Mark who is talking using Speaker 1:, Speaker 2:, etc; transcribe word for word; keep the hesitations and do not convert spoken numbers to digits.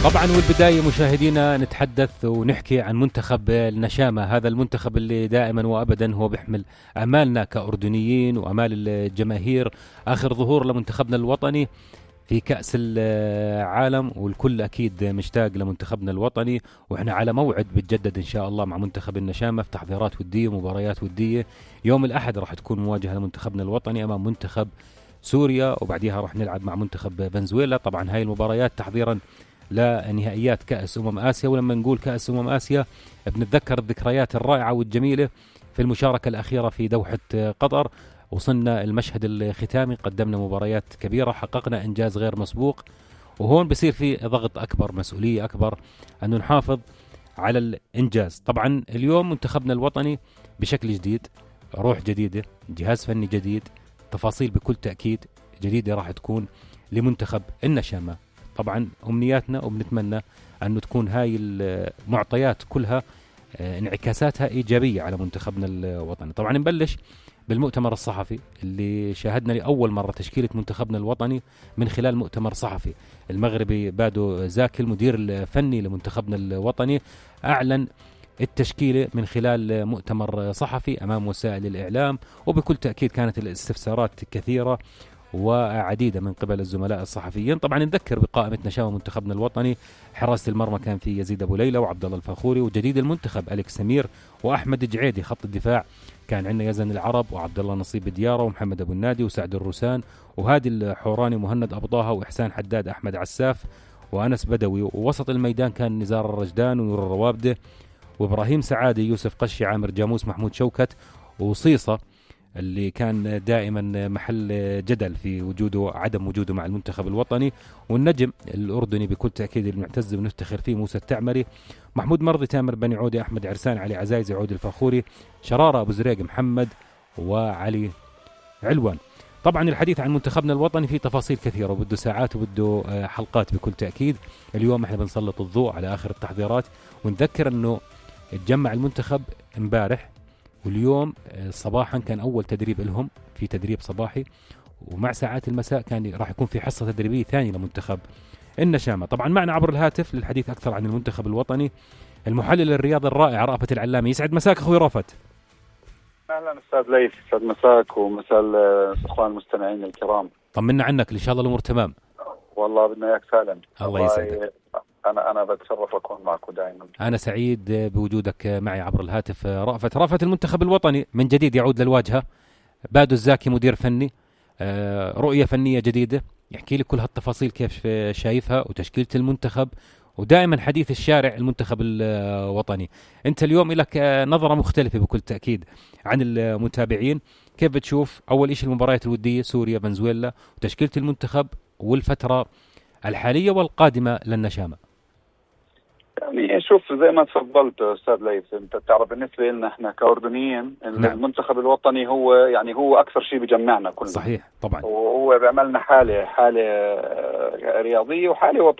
Speaker 1: طبعا والبداية مشاهدينا نتحدث ونحكي عن منتخب النشامة. هذا المنتخب اللي دائما وأبدا هو بيحمل أمالنا كأردنيين وأمال الجماهير. آخر ظهور لمنتخبنا الوطني في كأس العالم، والكل أكيد مشتاق لمنتخبنا الوطني، وإحنا على موعد بتجدد إن شاء الله مع منتخب النشامة في تحضيرات ودية ومباريات ودية. يوم الأحد راح تكون مواجهة لمنتخبنا الوطني أمام منتخب سوريا، وبعديها راح نلعب مع منتخب فنزويلا. طبعا هاي المباريات تحضيرا لنهائيات كأس أمم آسيا. ولما نقول كأس أمم آسيا بنتذكر الذكريات الرائعة والجميلة في المشاركة الأخيرة في دوحة قطر. وصلنا المشهد الختامي، قدمنا مباريات كبيرة، حققنا إنجاز غير مسبوق، وهون بصير في ضغط أكبر، مسؤولية أكبر أنه نحافظ على الإنجاز. طبعا اليوم منتخبنا الوطني بشكل جديد، روح جديدة، جهاز فني جديد، تفاصيل بكل تأكيد جديدة راح تكون لمنتخب النشامة. طبعا أمنياتنا وبنتمنى أنه تكون هاي المعطيات كلها انعكاساتها إيجابية على منتخبنا الوطني. طبعا نبلش بالمؤتمر الصحفي اللي شاهدنا لأول مرة تشكيلة منتخبنا الوطني من خلال مؤتمر صحفي. المغربي بادو زاكي المدير الفني لمنتخبنا الوطني أعلن التشكيلة من خلال مؤتمر صحفي أمام وسائل الإعلام، وبكل تأكيد كانت الاستفسارات كثيرة وعديدة من قبل الزملاء الصحفيين. طبعا نذكر بقائمة نشامة منتخبنا الوطني: حراسة المرمى كان في يزيد أبو ليلى وعبد الله الفخوري، وجديد المنتخب أليكس سمير وأحمد جعيدي. خط الدفاع كان عندنا يزن العرب وعبد الله نصيب ديارة ومحمد أبو النادي وسعد الروسان وهادي الحوراني مهند أبو طه وإحسان حداد أحمد عساف وأنس بدوي. ووسط الميدان كان نزار الرجدان ونور الروابدة وإبراهيم سعادي يوسف قشي عامر جاموس محمود شوكت وصيصة اللي كان دائما محل جدل في وجوده عدم وجوده مع المنتخب الوطني، والنجم الأردني بكل تأكيد المعتز ونفتخر فيه موسى التعمري، محمود مرضي تامر بني عودي أحمد عرسان علي عزايزي عود الفخوري شرارة أبو زريق محمد وعلي علوان. طبعا الحديث عن منتخبنا الوطني فيه تفاصيل كثيرة وبده ساعات وبده حلقات بكل تأكيد. اليوم احنا بنسلط الضوء على آخر التحضيرات، ونذكر أنه اتجمع المنتخب امبارح، واليوم صباحا كان أول تدريب لهم في تدريب صباحي، ومع ساعات المساء كان راح يكون في حصة تدريبية ثانية لمنتخب النشامة. طبعا معنا عبر الهاتف للحديث أكثر عن المنتخب الوطني المحلل الرياضي الرائع رأفت العلامي. يسعد مساك أخوي رأفت.
Speaker 2: أهلا أستاذ ليث، يسعد مساك ومساء الأخوان المستمعين الكرام.
Speaker 1: طمنا عنك، إن شاء الله الأمور تمام.
Speaker 2: والله بدنا إياك سالم.
Speaker 1: الله يسعدك.
Speaker 2: أنا أنا بتشرف أكون معكم دائما.
Speaker 1: أنا سعيد بوجودك معي عبر الهاتف. رأفت رأفت المنتخب الوطني من جديد يعود للواجهة، بادو الزاكي مدير فني، رؤية فنية جديدة. يحكي لي كل هالتفاصيل كيف شايفها وتشكيلة المنتخب، ودائما حديث الشارع المنتخب الوطني. أنت اليوم لك نظرة مختلفة بكل تأكيد عن المتابعين. كيف بتشوف أول إشي المباريات الودية سوريا فنزويلا وتشكيلة المنتخب والفترة الحالية والقادمة للنشامة؟
Speaker 2: يعني شوف زي ما تفضلت أستاذ ليث، أنت تعرف بالنسبة لنا إحنا كأردنيين نعم. المنتخب الوطني هو يعني هو أكثر شيء بجمعنا كلنا.
Speaker 1: صحيح طبعا،
Speaker 2: وهو بيعملنا حالة حالة رياضية وحالة وطنية.